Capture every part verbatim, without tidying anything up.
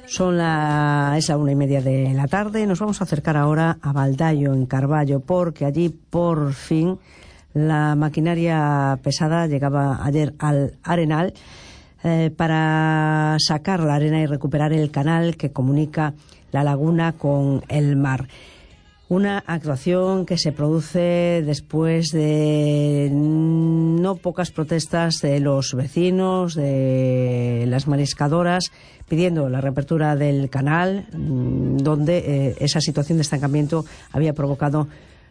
Son la, es la una y media de la tarde. Nos vamos a acercar ahora a Baldaio, en Carballo, porque allí por fin la maquinaria pesada llegaba ayer al Arenal eh, para sacar la arena y recuperar el canal que comunica la laguna con el mar. Una actuación que se produce después de no pocas protestas de los vecinos, de las mariscadoras, pidiendo la reapertura del canal, donde eh, esa situación de estancamiento había provocado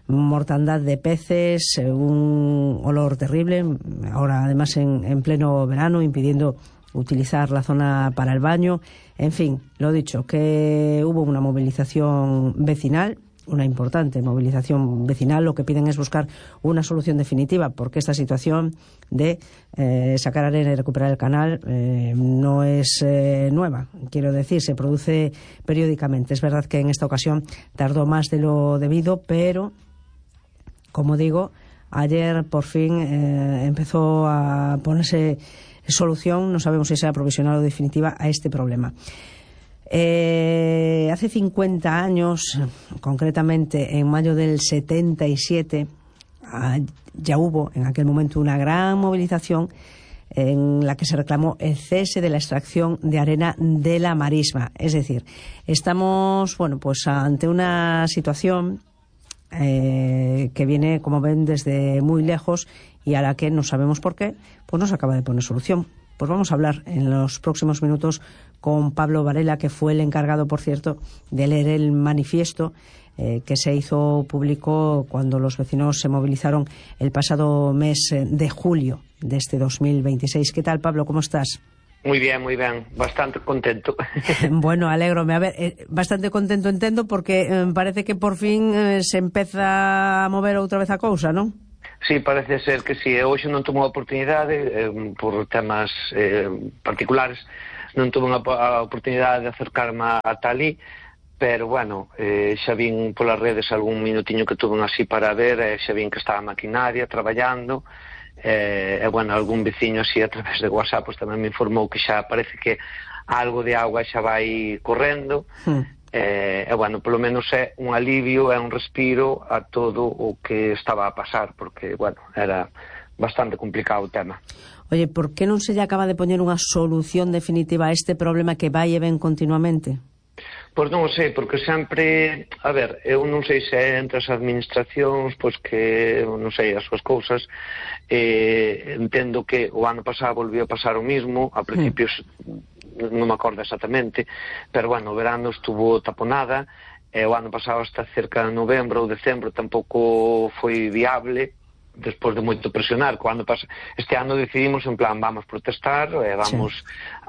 mortandad de peces, un olor terrible, ahora además en, en pleno verano, impidiendo utilizar la zona para el baño. En fin, lo dicho, que hubo una movilización vecinal, una importante movilización vecinal. Lo que piden es buscar una solución definitiva, porque esta situación de eh, sacar arena y recuperar el canal eh, no es eh, nueva. Quiero decir, se produce periódicamente. Es verdad que en esta ocasión tardó más de lo debido, pero, como digo, ayer por fin eh, empezó a ponerse solución, no sabemos si será provisional o definitiva, a este problema. Eh, hace cincuenta años, concretamente en mayo del setenta y siete, ya hubo en aquel momento una gran movilización en la que se reclamó el cese de la extracción de arena de la marisma. Es decir, estamos, bueno, pues ante una situación eh, que viene, como ven, desde muy lejos y a la que no sabemos por qué, pues no se acaba de poner solución. Pues vamos a hablar en los próximos minutos con Pablo Varela, que fue el encargado, por cierto, de leer el manifiesto eh, que se hizo público cuando los vecinos se movilizaron el pasado mes de julio de este dos mil veintiséis. ¿Qué tal, Pablo? ¿Cómo estás? Muy bien, muy bien. Bastante contento. Bueno, alégrome. A ver, eh, bastante contento entendo, porque eh, parece que por fin eh, se empeza a mover outra vez a cousa, non? Sí, parece ser que sí. Hoxe non tomou a oportunidade, eh, por temas eh, particulares, non tuve a oportunidade de acercarme a talí, pero, bueno, eh, xa vin polas redes algún minutiño que tuve así para ver, e xa vin que estaba a maquinaria traballando, e, eh, bueno, algún veciño así a través de WhatsApp pues, tamén me informou que xa parece que algo de agua xa vai correndo, mm. E, eh, bueno, polo menos é un alivio, é un respiro a todo o que estaba a pasar, porque, bueno, era bastante complicado o tema. Oye, por que non se lle acaba de poñer unha solución definitiva a este problema que vai e ven continuamente? Pois non o sei, porque sempre, a ver, eu non sei se é entre as administracións, pois que, non sei, as súas cousas, eh, entendo que o ano pasado volvió a pasar o mismo, a principios... Mm. non me acordo exactamente, pero, bueno, o verano estuvo taponada, e o ano pasado hasta cerca de novembro ou decembro tampouco foi viable, despois de moito presionar. Cando pas... Este ano decidimos, en plan, vamos protestar, e vamos, sí.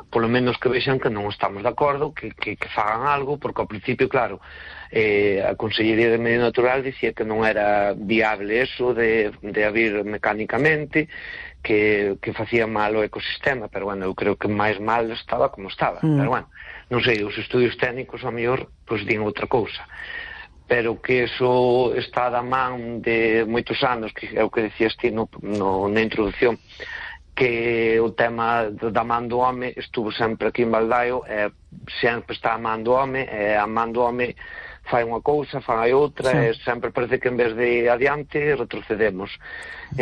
Polo menos que vexan que non estamos de acordo, que, que, que fagan algo, porque ao principio, claro, eh, a Consellería de Medio Natural dicía que non era viable eso de, de abrir mecánicamente, que, que facía mal o ecosistema, pero, bueno, eu creo que máis mal estaba como estaba, mm. pero, bueno, non sei, os estudios técnicos ao mellor, pois, din outra cousa, pero que eso está da man de moitos anos, que é o que decías ti no, no, na introducción, que o tema da man do home estuvo sempre aquí en Baldaio, e sempre está a man do home, e a man do home fai unha cousa, fai outra, sí. E sempre parece que en vez de adiante retrocedemos.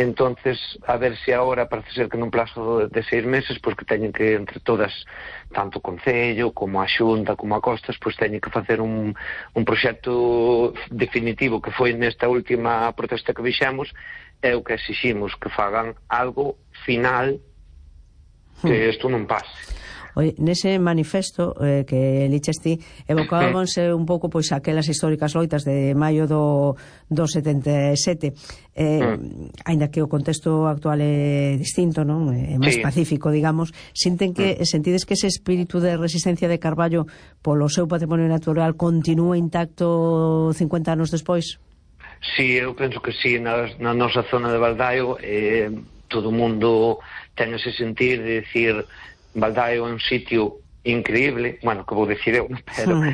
Entonces, a ver se agora parece ser que nun plazo de seis meses, pois que teñen que, entre todas, tanto o Concello como a Xunta como a Costas, pois teñen que facer un, un proxecto definitivo, que foi nesta última protesta que vixemos, é o que exiximos, que fagan algo final, que isto non pase. Oye, nese manifesto eh, que liches ti, evocábanse un pouco pois aquelas históricas loitas de maio do, do setenta e sete, eh, mm. aínda que o contexto actual é distinto, non? É máis sí. pacífico, digamos. Sinten que, mm. sentides que ese espírito de resistencia de Carballo polo seu patrimonio natural continúa intacto cincuenta anos despois? Sí, eu penso que sí. Na, na nosa zona de Baldaio eh, todo o mundo ten ese sentir de decir... Baldaio é un sitio increíble, bueno, que vou dicir eu, pero, sí.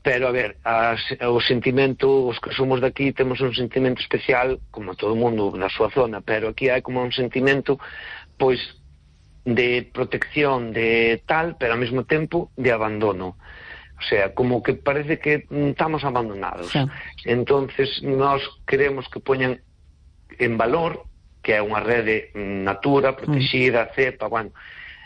pero a ver, as, o sentimento, os que somos daqui temos un sentimento especial, como todo o mundo na súa zona, pero aquí hai como un sentimento, pois, de protección, de tal, pero ao mesmo tempo de abandono. O sea, como que parece que estamos abandonados. Sí. Entonces, nós queremos que poñan en valor que é unha rede Natura, protegida, mm. cepa, bueno,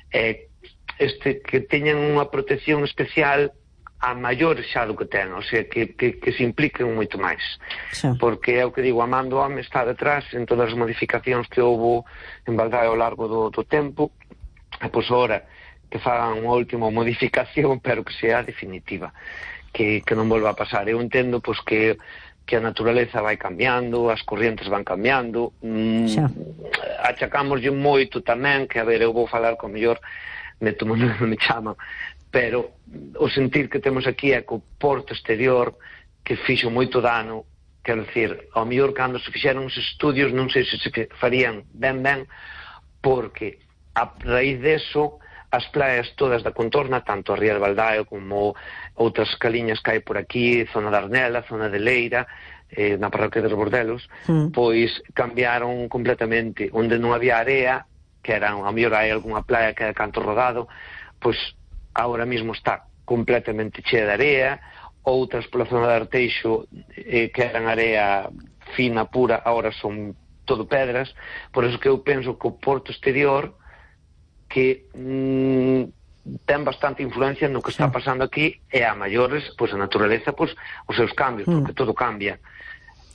eh, este, que teñan unha protección especial a maiores xa do que ten, o sea, que, que, que se impliquen moito máis. Sí. Porque é o que digo, Amando Home está detrás en todas as modificacións que houve en Baldaio ao largo do, do tempo, e pois ora que fagan unha última modificación, pero que sea definitiva, que, que non volva a pasar. Eu entendo pois que que a naturaleza vai cambiando, as corrientes van cambiando, mm, achacámoslle moito tamén, que a ver, eu vou falar con mellor, me tomo non me chama, pero o sentir que temos aquí é co porto exterior, que fixo moito dano, quero dicir, ao mellor cando se fixeron os estudios, non sei se se farían ben ben, porque a raíz deso, as playas todas da contorna, tanto a Ría de Baldaio como outras caliñas que hai por aquí, zona da Arnela, zona de Leira, eh, na parroquia de Bordelos, mm. pois cambiaron completamente. Onde non había area, que era, a mellor hai algunha playa que é canto rodado, pois agora mesmo está completamente chea de area. Outras pola zona de Arteixo, eh, que eran area fina, pura, agora son todo pedras. Por eso que eu penso que o porto exterior que mm, ten bastante influencia no que sí. está pasando aquí, e a maiores, pois a naturaleza, pois os seus cambios, mm. porque todo cambia.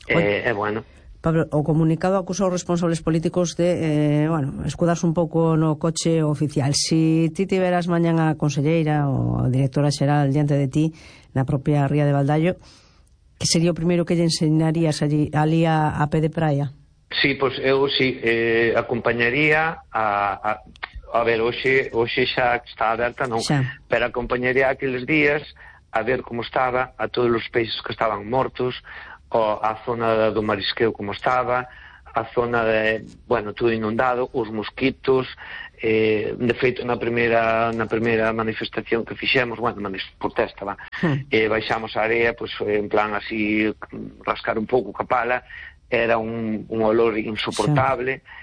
É eh, bueno. Pablo, o comunicado acusa os responsables políticos de, eh, bueno, escudarse un pouco no coche oficial. Si ti tiveras mañan a conselleira ou a directora xeral diante de ti na propia Ría de Baldaio, que sería o primeiro que lle enseñarías allí, ali a, a pé de praia? Sí, pois eu sí, eh, acompañaría a... a A ver, hoxe, hoxe xa está aberta, non? Xa. Pero acompañaría aqueles días a ver como estaba, a todos os peixes que estaban mortos, o a zona do marisqueo como estaba, a zona de, bueno, todo inundado, os mosquitos, eh, de feito na primeira na primeira manifestación que fixemos, bueno, protesta, va, hmm. eh, baixamos a area, pois, pues, en plan así, rascar un pouco ca pala, era un, un olor insoportable, xa.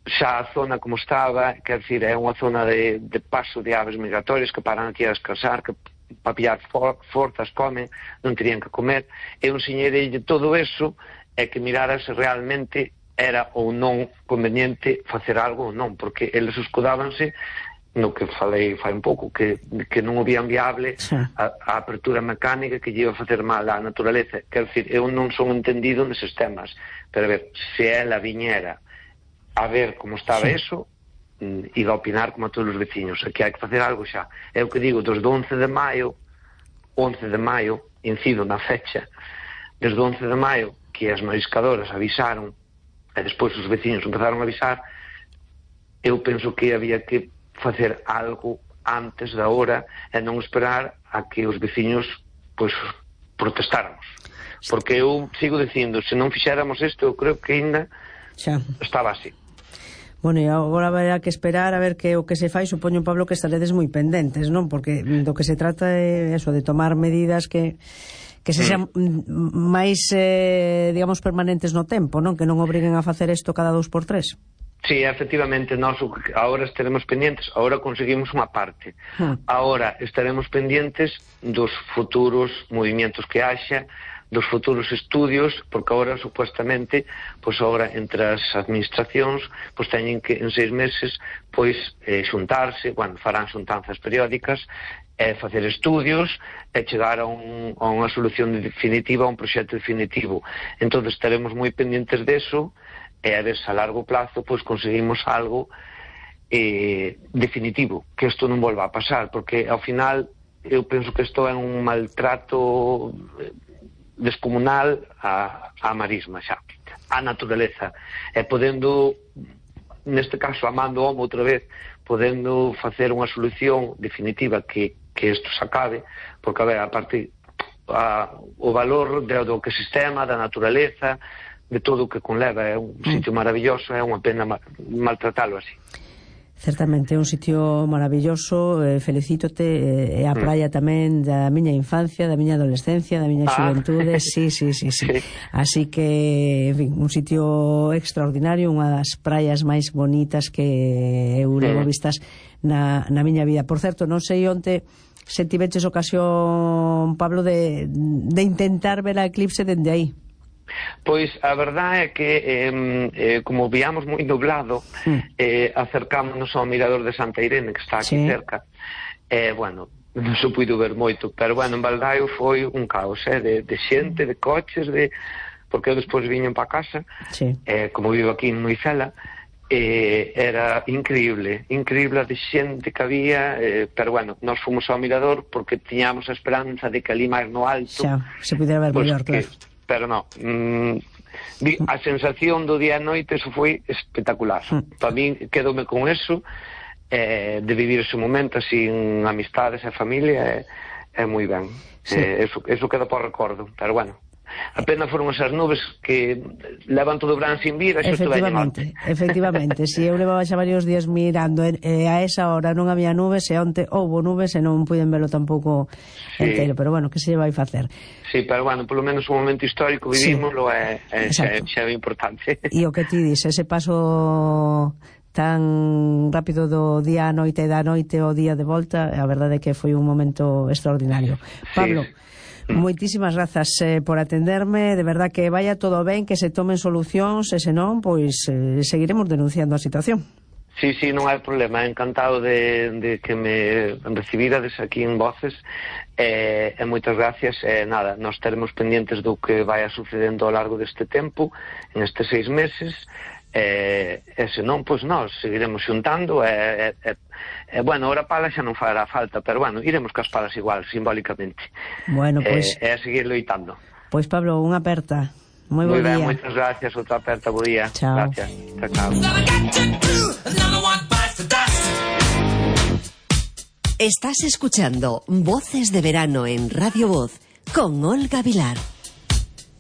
Xa a zona como estaba, quer dizer, é unha zona de, de paso de aves migratorias que paran aquí a descansar, que para pillar for, forzas comen, non terían que comer. Eu enseñei todo eso, é que mirara se realmente era ou non conveniente facer algo ou non, porque eles escudábanse no que falei fai un pouco, que, que non o vían viable sí. a, a apertura mecánica que lle iba a facer mal á naturaleza. Quer dizer, eu non son entendido neses temas, pero a ver, se ela viñera a ver como estaba sí. eso, e a opinar como a todos os veciños. Aquí hai que facer algo xa. É o que digo, desde o once de maio, once de maio, incido na fecha, desde o once de maio, que as mariscadoras avisaron, e despois os veciños empezaron a avisar, eu penso que había que facer algo antes da hora e non esperar a que os veciños, pois, protestáramos. Porque eu sigo dicindo, se non fixéramos isto, eu creo que ainda xa estaba así. Bueno, e agora haberá que esperar a ver que o que se fai, supoño, Pablo, que estaredes moi pendentes, non? Porque do que se trata é eso, de tomar medidas que que se sean mm. máis, eh, digamos, permanentes no tempo, non? Que non obriguen a facer isto cada dous por tres. Sí, efectivamente, nós agora estaremos pendientes, agora conseguimos unha parte. Hmm. Agora estaremos pendientes dos futuros movimentos que haxa, dos futuros estudios, porque agora, supuestamente, pois agora, entre as administracións, pois teñen que, en seis meses, pois, eh, xuntarse, bueno, farán xuntanzas periódicas, e eh, facer estudios, e chegar a, un, a unha solución definitiva, a un proxecto definitivo. Entón, estaremos moi pendientes deso, e a ver se a largo plazo, pois, conseguimos algo eh, definitivo, que isto non volva a pasar, porque, ao final, eu penso que isto é un maltrato descomunal a, a marisma xa, a naturaleza, e podendo, neste caso amando homo outra vez, podendo facer unha solución definitiva que, que isto se acabe, porque a ver, a parte a, o valor de, do que sistema, da naturaleza, de todo o que conleva, é un mm. sitio maravilloso, é unha pena ma, maltratalo así. Certamente, é un sitio maravilloso, eh, felicítote, e eh, a praia tamén da miña infancia, da miña adolescencia, da miña xuventude, ah. sí, sí, sí, sí, sí. Así que, en fin, un sitio extraordinario, unha das praias máis bonitas que eu levo vistas na, na miña vida. Por certo, non sei onte se tiveches ocasión, Pablo, de, de intentar ver a eclipse dende aí. Pois a verdade é que eh, eh, como viamos moi nublado, mm. eh, acercámonos ao mirador de Santa Irene, que está aquí sí. cerca, e eh, bueno, non se puido ver moito, pero bueno, en Baldaio foi un caos, eh, de, de xente, de coches, de porque eu despois viñen para casa, sí. eh, como vivo aquí en Moicela, eh, era increíble, increíble de xente que había, eh, pero bueno, nós fomos ao mirador porque tiñamos a esperanza de que ali máis no alto xa, se pudera ver pues, mellor, claro. Pero no, mm, a sensación do día e noite, eso foi espectacular. Mm. Para mí, quedome con eso, eh, de vivir ese momento así en amistades e familia, é eh, eh, moi ben. Sí. Eh, eso, eso queda por recordo, pero bueno. Apenas foron esas nubes que levan todo o verán sin vir, eso efectivamente, efectivamente, si eu levaba xa varios días mirando e eh, a esa hora non había nubes e onte houbo nubes e non puiden velo tampouco sí. entero, pero bueno, que se vai facer? Sí, pero bueno, polo menos un momento histórico vivimoslo sí. é, é, xa, xa é importante. E o que ti dis, ese paso tan rápido do día a noite e da noite ao día de volta, a verdade é que foi un momento extraordinario. Pablo, sí. moitísimas grazas eh, por atenderme, de verdad que vaya todo ben, que se tomen solucións e senón, pois eh, seguiremos denunciando a situación. Sí, sí, non hai problema, encantado de, de que me recibirades aquí en Voces eh, e moitas gracias, e eh, nada, nos teremos pendientes do que vai sucedendo ao largo deste tempo, en estes seis meses, e, e senón, pois nós seguiremos xuntando e, e, e bueno, ora pala xa non fará falta, pero bueno, iremos cas palas igual, simbólicamente. Bueno, pois... E, e a seguir loitando. Pois Pablo, unha aperta. Moi bo día. Moi ben, moitas gracias, outra aperta, bo día. Chao. Gracias. Chao, chao. Estás escuchando Voces de Verano en Radio Voz con Olga Vilar.